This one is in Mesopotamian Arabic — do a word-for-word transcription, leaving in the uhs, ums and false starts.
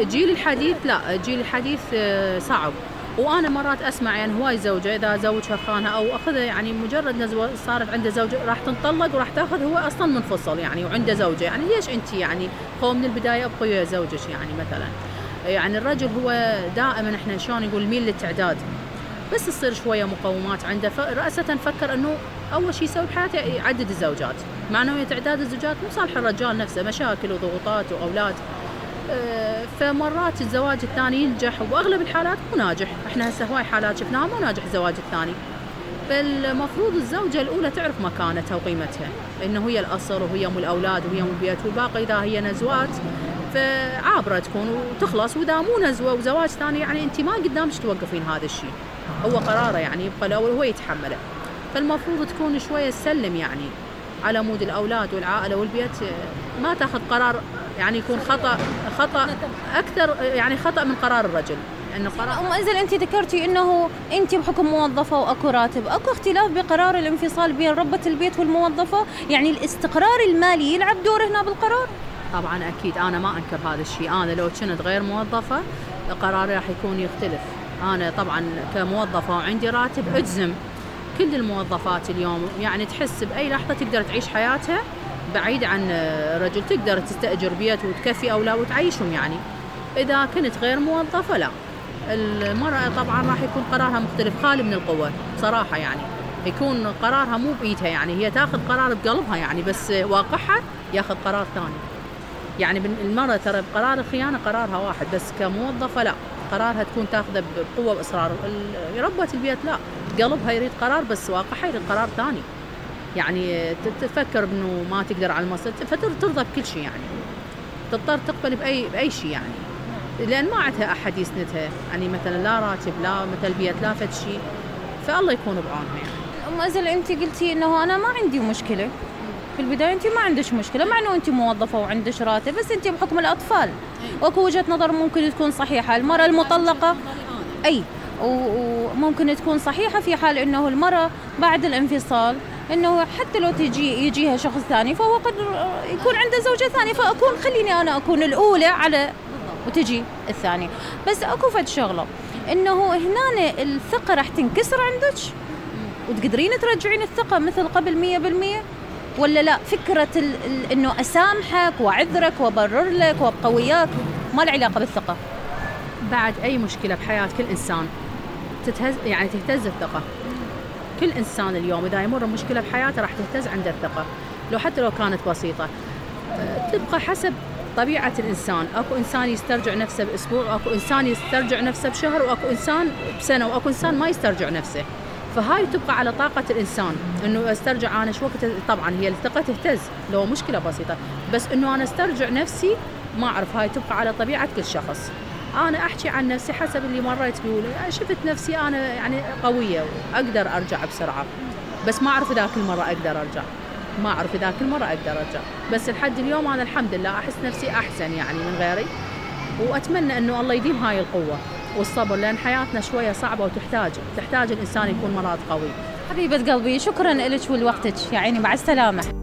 الجيل الحديث لا، الجيل الحديث صعب. وأنا مرات أسمع يعني هواي زوجة إذا زوجها خانها أو أخذها، يعني مجرد نزوة صارت عنده زوجة راح تنطلق وراح تأخذ، هو أصلاً منفصل يعني وعنده زوجة، يعني ليش أنت يعني هو من البداية أبقي ويا زوجك يعني مثلاً. يعني الرجل هو دائماً إحنا شلون نقول ميل للتعداد، بس تصير شوية مقومات عنده، رأسة فكر إنه أول شيء يسوي بحياته يعدد الزوجات، مع إنه تعداد الزوجات مو صالح الرجال نفسه، مشاكل وضغوطات وأولاد. فمرات الزواج الثاني ينجح، وبأغلب الحالات مو ناجح. احنا هسه هواي حالات شفناها مو ناجح الزواج الثاني. فالمفروض الزوجة الأولى تعرف مكانتها وقيمتها، إنه هي الأصل وهي أم الأولاد وهي أم البيت، والباقي إذا هي نزوات فعابرة تكون وتخلص، وإذا مو نزوة وزواج ثاني يعني أنت ما قدامش توقفين هذا الشيء، هو قراره يعني يبقى الأول هو يتحمله. فالمفروض تكون شوية تسلم يعني على مود الأولاد والعائلة والبيت، ما تاخذ قرار يعني يكون خطأ خطأ أكثر، يعني خطأ من قرار الرجل. إنه قرار أم أزل أنت ذكرتي إنه أنت بحكم موظفة وأكو راتب، أكو اختلاف بقرار الانفصال بين ربة البيت والموظفة، يعني الاستقرار المالي يلعب دور هنا بالقرار؟ طبعا أكيد، أنا ما أنكر هذا الشيء. أنا لو كنت غير موظفة قراري راح يكون يختلف. أنا طبعا كموظفة وعندي راتب أجزم كل الموظفات اليوم يعني تحس بأي لحظة تقدر تعيش حياتها بعيد عن رجل، تقدر تستأجر بيت وتكفي أولاد وتعيشهم. يعني إذا كنت غير موظفة لا، المرأة طبعا راح يكون قرارها مختلف، خالي من القوة صراحة، يعني يكون قرارها مو بإيدها، يعني هي تاخذ قرار بقلبها يعني، بس واقعها ياخذ قرار ثاني. يعني المرأة ترى بقرار الخيانة قرارها واحد، بس كموظفة لا، قرارها تكون تاخذه بقوة وإصرار. ربة البيت لا، قلبها يريد قرار بس واقعها يريد قرار ثاني. يعني تفكر إنه ما تقدر على المصير فترضى بكل شيء، يعني تضطر تقبل بأي بأي شيء يعني، لأن ما عندها أحد يسندها، يعني مثلا لا راتب لا مثل بيت لا فد شيء، فالله يكون بعونها. يعني أم أزل أنت قلتي إنه أنا ما عندي مشكلة في البداية، أنت ما عندش مشكلة مع إنه أنت موظفة وعندش راتب، بس أنت بحكم الأطفال وأكو وجهة نظر ممكن تكون صحيحة. المرأة المطلقة أي وممكن تكون صحيحة في حال إنه المرأة بعد الانفصال إنه حتى لو تجي يجيها شخص ثاني فهو قد يكون عنده زوجة ثانية، فأكون خليني أنا أكون الأولى على وتجي الثانية. بس أكو فد شغلة إنه هنا الثقة راح تنكسر عندك وتقدرين ترجعين الثقة مثل قبل مية بالمية ولا لا؟ فكرة ال ال إنه أسامحك وأعذرك وأبرر لك وأبقى وياك ما له علاقة بالثقة. بعد أي مشكلة بحياة كل إنسان تتهز، يعني تهتز الثقة. كل إنسان اليوم إذا يمر مشكلة بحياته راح تهتز عنده الثقة، لو حتى لو كانت بسيطة. تبقى حسب طبيعة الإنسان، أكو إنسان يسترجع نفسه بأسبوع، وأكو إنسان يسترجع نفسه بشهر، وأكو إنسان بسنة، وأكو إنسان ما يسترجع نفسه. فهاي تبقى على طاقة الإنسان إنه استرجع أنا شو وقت. طبعا هي الثقة تهتز لو مشكلة بسيطة، بس إنه أنا استرجع نفسي ما أعرف، هاي تبقى على طبيعة كل شخص. أنا أحكي عن نفسي حسب اللي مريت بيه، شفت نفسي أنا يعني قوية وأقدر أرجع بسرعة، بس ما أعرف إذا كل مرة أقدر أرجع، ما أعرف إذا كل مرة أقدر أرجع. بس لحد اليوم أنا الحمد لله أحس نفسي أحسن يعني من غيري، وأتمنى إنه الله يديم هاي القوة والصبر، لأن حياتنا شوية صعبة وتحتاج تحتاج الإنسان يكون مرات قوي. حبيبة قلبي شكرا لك ولوقتك، يا عيني مع السلامة.